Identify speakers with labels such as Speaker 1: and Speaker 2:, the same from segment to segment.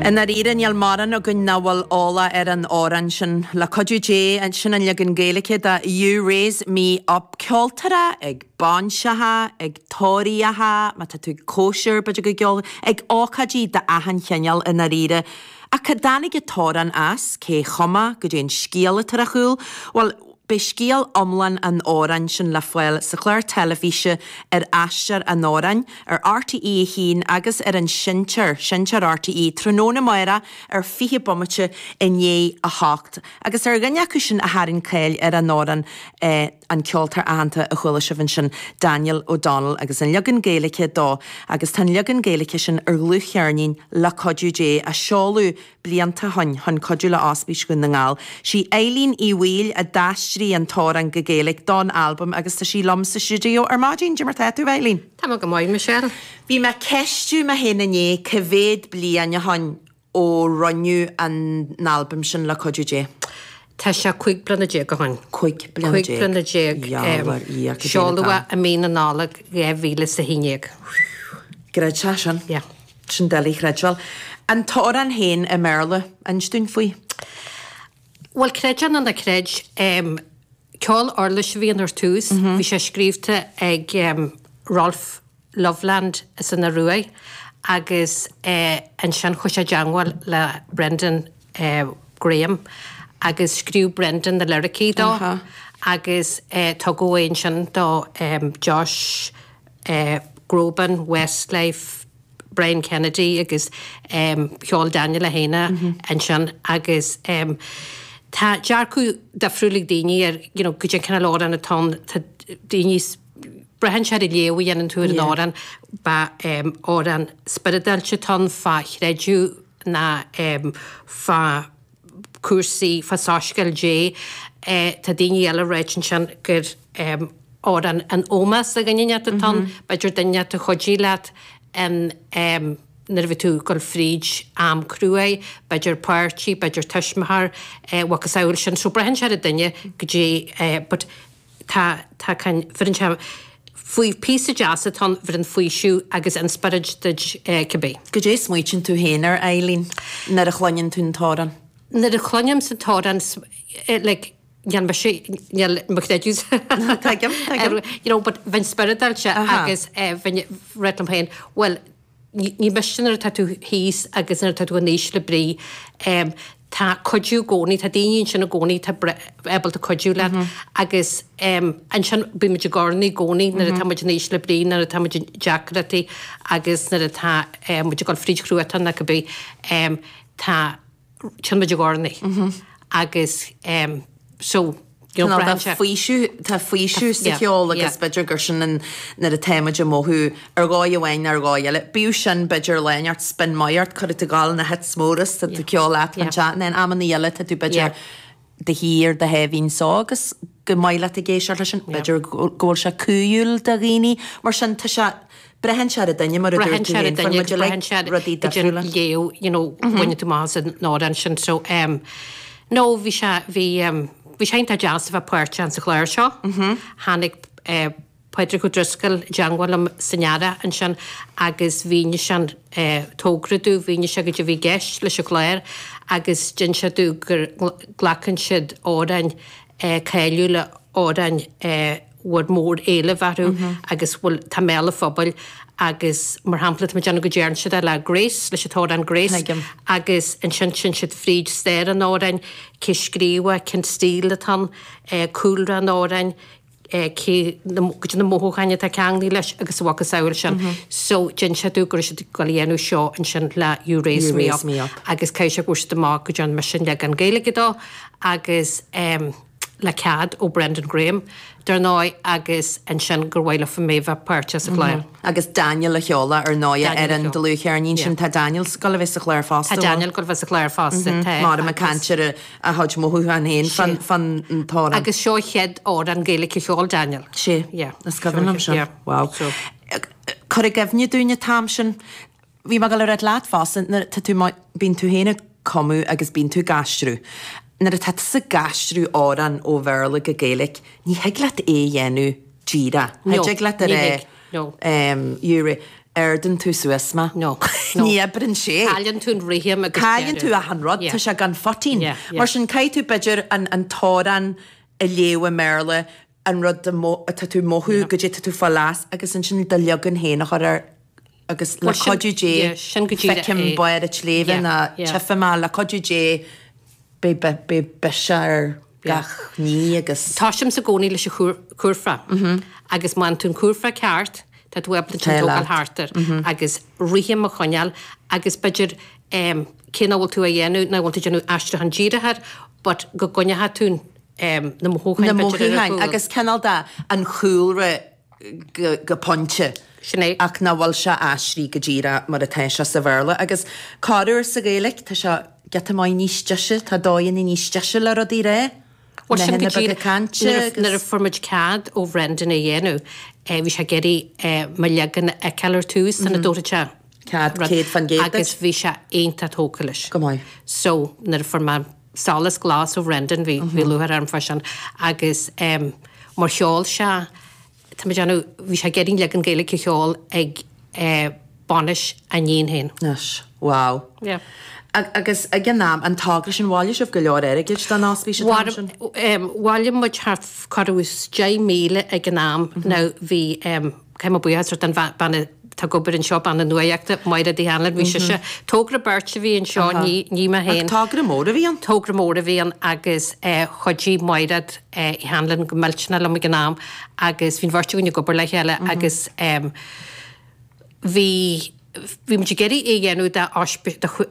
Speaker 1: I ndáiríre, níl mórán againn nach bhfuil eolach ar an amhrán sin. Le cuidiú Dé, sin an leagan Gaeilge de You Raise Me Up. Ceoltóireacht ag bainseacha, ag tórraíocha, má tá tú ag cóisir, b'fhéidir go gceol, ag ócáidí d'achan chineál i ndáiríre. Ach cá dtáinig an t-amhrán as, cé chum é, goidé an scéal atá ar a chúl? Bhuel, Beidh scéal iomlán an amhráin sin le fáil sa chlár teilifíse ar Aistear an Amhráin ar RTÉ 1 agus ar an Seinnteoir, Seinnteoir RTÉ, tráthnóna amárach ar 20 bomaite i ndiaidh a hocht. Agus ar dhuine acu sin a tharraing cáil ar an amhrán an ceoltóir aitheanta a chuala sibh ansin, Daniel O'Donnell agus an leagan Gaeilge dó. Agus tá an leagan Gaeilge sin ar dhlúthcheirnín Le Cuidiú Dé a seoladh blianta ó shoin chun cuidiú le Ospís Dhún na nGall. Sí Eileen Uí Bhaoill a d'aistrigh an t-amhrán go Gaeilge don albam agus tá sí liom sa stiúideo ar maidin. Cad é mar tá tú, Eileen?
Speaker 2: Tá mé go maith, Michelle.
Speaker 1: Bhí mé ag ceistiú mé féin inné cá mhéad bliain ó shoin ó rinneadh an albam sin le cuidiú Dé.
Speaker 2: Tá sé 15 bliana ó shoin.
Speaker 1: 15 bliana.
Speaker 2: 15 bliana.
Speaker 1: Diabhal ar Dhia, cad é
Speaker 2: an Seoladh é i mí na Nollag 2011.
Speaker 1: Creid é sin.
Speaker 2: Yeah.
Speaker 1: Sin doiligh a chreidbheáil. An t-amhrán féin i mBéarla, inis dúinn faoi.
Speaker 2: Bhuel, creid é nó ná creid, ceol uirlis a bhí ann ar tús. Bhí sé scríobhta ag Rolf Løvland as an Ioruaidh agus ansin chuaigh sé i dteangmháil le Brendan Graham agus scríobh Brendan na liricí dó agus tugadh é ansin do Josh Groban, Westlife, Brian Kennedy agus cheol Daniel é féin é ansin agus tá dearcadh difriúil ag daoine ar you know goidé an cineál amhrán atá ann, tá daoine, braitheann sé ar an léamh a dhéanann tú ar an amhrán, ba amhrán spioradálta atá ann fá chreideamh ná fá cúrsaí fá soiscéal Dé. Tá daoine eile ag ráit ansin gur amhrán in ómós do dhuine inteacht atá ann, b'fhéidir duine inteacht a chuidigh leat in nuair a bhí tú ag dul fríd am cruaidh, b'fhéidir páirtí, b'fhéidir tuismitheoir, a mhacasamhail sin. So braitheann sé ar an duine goidé but tá tá can bheireann sé faoi píosa deas atá ann bheireann faoiseamh agus inspioráid duit cibé.
Speaker 1: Goidé a smaoitíonn tú féin air, Eileen, nuair a chluineann tú an t-amhrán?
Speaker 2: Nuair a chluinim an t-amhrán like níl mise níl mo chreideamh
Speaker 1: Tuigim, tuigim.
Speaker 2: you know but bheinn spioradálta agus bheinn ag rá liom féin bhuel Ní miste nuair atá tú thíos agus nuair atá tú in ísle brí. Tá cuidiú i gcónaí, tá daoine ansin i gcónaí atá ábalta cuidiú leat agus ansin bíonn muid i gcornaí i gcónaí nuair atá muid in ísle brí, nuair atá muid i deacrachtaí agus nuair atá muid ag dul fríd chruatan nó cibé. Tá. Téann muid i gcornaí agus so
Speaker 1: you know braitheann sé. Faoiseamh, tá faoiseamh sa cheol agus b'fhéidir gur sin an nuair atá muid ag mothú ar dhóigh amháin nó ar dhóigh eile. Bíodh sin b'fhéidir lá inteacht spin maith ort, cuirfidh tú ag gabháil na hits móra is tá tú ceol leat fan teach, and then amannaí eile tá tú b'fhéidir do shuí ar do sháimhín só agus gur maith leat ag éisteacht leis sin, b'fhéidir go bhfuil sé cumhúil do dhaoine, mar sin tá sé, braitheann sé ar an duine mar a dúirt tú féin, fuair muid uilig rudaí difriúla.
Speaker 2: léamh, you know, bhaineann tú amach as an amhrán sin, so em no bhí sé, bhí em bhí sé iontach deas a bheith páirteach sa chlár seo. Tháinig eh Pádraig Ó Drisceoil i dteangmháil liom san earrach ansin agus mhínigh sé an togra domh, mhínigh sé goidé a bhí i gceist leis an chlár agus d'inis sé domh go nglacann siad amhráin cáiliúla, amhráin a bhfuil mór-éileamh orthu agus bhfuil, tá i mbéal an phobail agus mar shampla tá mé ag déanamh go dtearn siad é le Grace, leis an t-amhrán Grace agus ansin téann siad fríd stair an amhráin, cé scríobh é, cén stíl atá ann, cúlra an amhráin, cé na, goidé na mothúcháin atá ceanglaithe leis agus a mhacasamhail sin. So d'inis sé domh go raibh siad ag dul a dhéanamh seo ansin le You Raise Me Up agus caithfidh sé go bhfuair siad amach go dtearn mise an leagan Gaeilge dó agus em le cead ó Brendan Graham dar ndóigh agus ansin gur mhaith leofa mé bheith páirteach sa chlár.
Speaker 1: Agus Daniel a cheol ar ndóigh ar an dlúthcheirnín sin. Tá Daniel ag gabháil a bheith sa chlár fosta.
Speaker 2: Tá Daniel ag gabháil a bheith sa chlár fosta.
Speaker 1: Tá. Mar ag caint ar a chuid mothúchán féin fán t-amhrán.
Speaker 2: Agus seo an chéad amhrán Gaeilge a cheol Daniel.
Speaker 1: Sea. Is cuimhin liom sin. Wow. Cuir i gcuimhne dúinn an t-am sin. Bhí mé ag gabháil a ráit leat fosta, nuair atá tú, bíonn tú féin ag cumadh agus bíonn tú ag aistriú. Nuair atá tusa ag aistriú amhrán ó Bhéarla go Gaeilge, ní thig leat é a dhéanamh díreach.
Speaker 2: No,
Speaker 1: Thig leat a
Speaker 2: ní
Speaker 1: rá,
Speaker 2: thig, no.
Speaker 1: You. Ardaíonn tú suas mé.
Speaker 2: No, no.
Speaker 1: Ní oibreann sé.
Speaker 2: Cailleann tú an rithim agus
Speaker 1: Cailleann tú achan rud, tá sé gan phoitín.
Speaker 2: Yeah, yeah.
Speaker 1: Mar sin caithfidh tú b'fhéidir an an t-amhrán a léamh i mBéarla, an rud atá tú ag mothú, goidé tá tú ag fáil as agus ansin do leagan féin a chur air agus le cuidiú Dé feicim barr an tsléibhe nó tchífidh mé le cuidiú Dé beidh beidh biseach ar gach ní agus.
Speaker 2: Tosaímse i gcónaí leis an chúrfá agus má fhaigheann tú an cúrfá ceart tá tú ábalta tógáil thart air agus rithim a choinneáil agus b'fhéidir cé nach bhfuil tú á dhéanamh, nach bhfuil tú ag déanamh aistriúchán díreach air but go gcoinneoidh tú na mothúcháin
Speaker 1: Na mothúcháin agus cineál de an chúlra go pointe.
Speaker 2: Sin é.
Speaker 1: Ach nach bhfuil sé aistrithe go díreach mar atá sé sa Bhéarla. Agus corruair sa Ghaeilge, tá sé giota maith níos deise, tá dóigheanna níos deise le rudaí a rá.
Speaker 2: Bhuel, sin go díreach. Nuair a fuair muid cead ó Bhrendan é a dhéanamh, bhí sé ag iarraidh mo leagan a fheiceáil ar tús sula dtabharfadh sé
Speaker 1: Cead 100% duit.
Speaker 2: Agus bhí sé iontach tógtha leis.
Speaker 1: Go maith.
Speaker 2: So, nuair a fuair mé solas glas ó Bhrendan, bhí lúcháir orm fá sin, agus mar cheol sé, tá mé ag déanamh, bhí sé ag iarraidh an leagan Gaeilge a cheol ag bainis a iníon féin.
Speaker 1: Anois, wow.
Speaker 2: Yeah.
Speaker 1: Agus ag an am, an togra sin, bhailigh sibh go leor airgid don ospís an t-am sin?
Speaker 2: Bhailigh muid thart corradh is 10,000 ag an am. Now bhí, Caithfidh mé buíochas a thabhairt don bhean atá ag obair anseo, bean na nuaíochta, Máiréad Uí Hanlon, bhí sise, togra beirt a bhí anseo, ní mé féin.
Speaker 1: Ach togra mór a bhí ann.
Speaker 2: Togra mór a bhí ann agus chuidigh Máiréad Uí Hanlon go millteanach liom ag an am agus bhí an bheirt againn ag obair le chéile agus bhí, bhí muid ag iarraidh é a dhéanamh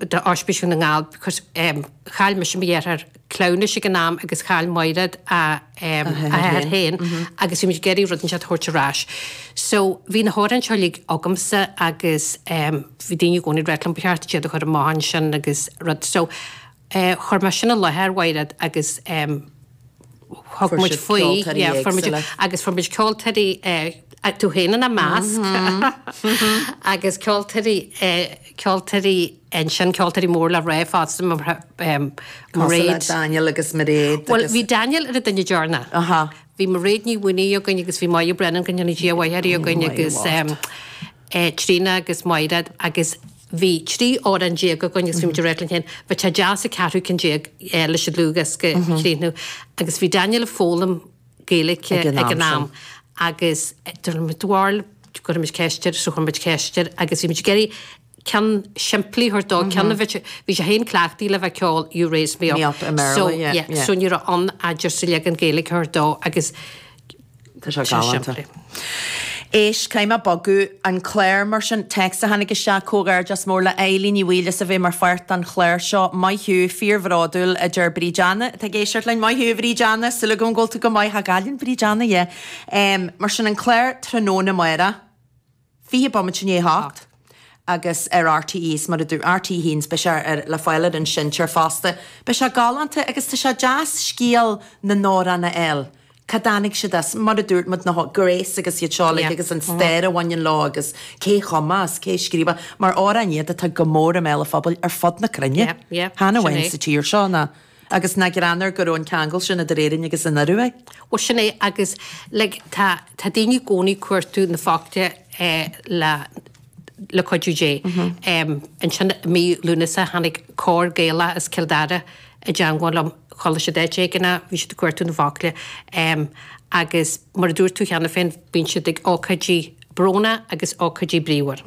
Speaker 2: d'Ospís Dhún na nGall because chaill mise mo dheartháir cleamhnais ag an am agus chaill Máiréad a hathair féin agus bhí muid ag iarraidh rud inteacht a thabhairt ar ais. So bhí na hamhráin seo uilig agamsa agus bhí daoine i gcónaí ag ráit liom ba cheart duit iad a chur amach ansin agus rud. So chuir mé sin i láthair Mháiréad agus thug muid faoi, yeah, fuair muid, agus fuair muid ceoltóirí, tú féin ina measc, agus ceoltóirí, ceoltóirí ansin, ceoltóirí mór le rá fosta,
Speaker 1: Mairéad. Cosúil le Daniel agus Mairéad agus.
Speaker 2: Bhuel, bhí Daniel ar an duine deireanach. Bhí Mairéad Ní Mhaonaigh againn agus bhí Máire Brennan, go ndéana Dia a mhaith uirthi, againn agus Tríona agus Mairéad agus Bhí 13 amhrán againn agus bhí muid ag rá linn féin, bheadh sé deas an ceathrú ceann déag leis an dlúthdhiosca a chríochnú. Agus bhí Daniel ag foghlaim Gaeilge ag an am agus dúirt muid, bhuel, cuirfidh muid ceist air, so chuir muid ceist air agus bhí muid ag iarraidh ceann simplí a thabhairt dó, ceann a bheadh, bhí sé féin cleachtaithe le bheith ag ceol You Raise Me Up, so, yeah, so ní raibh ann ach just an leagan Gaeilge a thabhairt dó agus
Speaker 1: Tá sé galánta. Éist, caithfidh mé bogadh an clár mar sin. Téacs a tháinig isteach, Comhghairdeas mór le Eilín Ní Bhaoill as a bheith mar pháirt den chlár seo. Maith thú, fíorbhródúil, a deir Bríd Anna atá ag éisteacht linn. Maith thú, a Bhríd Anna, súil agam go bhfuil tú go maith. Tá Gaillimh, Bríd Anna, yeah. Mar sin, an clár tráthnóna amárach. 20 bomaite i ndiaidh a hocht agus ar RTÉ is mar a dúirt RTÉ 1 beidh sé ar le fáil ar an seinnteoir fosta. Beidh sé galánta agus tá sé deas scéal na n-amhrán a fháil. Cá dtáinig siad as? Mar a dúirt muid na Grace agus iad seo uilig agus an stair a bhaineann leo agus cé chum é is cé scríobh é mar amhráin iad atá go mór i mbéal an phobail ar fud na cruinne. Chan amháin sa tír seo ná Agus nach greannmhar go raibh an ceangal sin idir Éirinn agus an Ioruaidh.
Speaker 2: Bhuel sin é agus like tá tá daoine i gcónaí ag cuartú na focla eh le le cuidiú Dé. Em ansin i mí Lúnasa tháinig cór Gaelach as Cill Dara i dteangmháil liom, chodlaigh siad áit éigin, bhí siad ag cuartú na bhfocla em agus mar a dúirt tú cheana féin bíonn siad ag ócáidí brónach agus ócáidí bríomhar.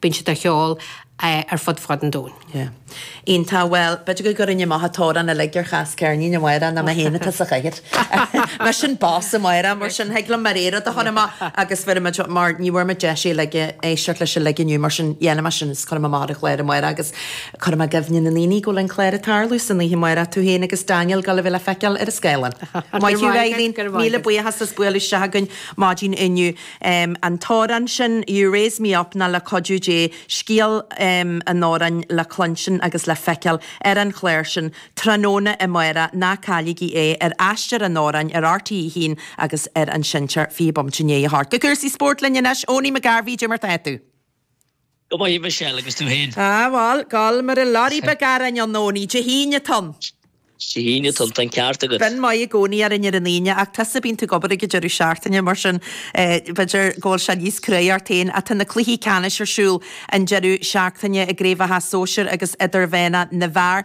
Speaker 2: Bíonn siad á cheol ar fud fad an domhain.
Speaker 1: Yeah. Iontach. Bhuel, b'fhéidir go gcuirfinn amach an t-amhrán uilig ar chas ceirnín amárach ná mé féin atá sa chathaoir. Mise an boss amárach, mar sin thig liom mo rogha rud a chur amach agus bheir muid mar ní bhfuair muid deis é uilig a éisteacht leis uilig inniu mar sin dhéanfaidh mé sin is cuirfidh mé amach ar an chlár amárach agus cuirfidh mé i gcuimhne na ndaoine go bhfuil an clár ag tarlú san oíche amárach, tú féin agus Daniel ag dul a bheith le feiceáil ar an scáileán. Maith thú Eileen, míle buíochas as bualadh isteach chugainn maidin inniu. An t-amhrán sin, You Raise Me Up ná Le Cuidiú Dé, scéal an amhráin le cluinstin agus le feiceáil ar an chlár sin tráthnóna amárach, ná cailligí é ar Aistear an Amhráin ar RTÉ 1 agus ar an seinnteoir 20 bomaite i ndiaidh a hocht. Go cúrsaí spóirt linn anois, Owenie McGarvey, cad é mar tá tú?
Speaker 3: Go maith, a Mhichelle, agus tú féin?
Speaker 1: Ah bhuel, gol mar a lorry beag aráin ann, Owenie, Dé hAoine atá ann.
Speaker 3: Dé hAoine, tá an ceart agat.
Speaker 1: Bíonn maith i gcónaí orainn ar an Aoine ach tusa bíonn tú ag obair ag an deireadh seachtaine mar sin b'fhéidir go bhfuil sé níos cruaidh ort féin ach tá na cluichí ceannais ar siúl an deireadh seachtaine i gcraobhacha sóisir agus idirmheánach na bhfear.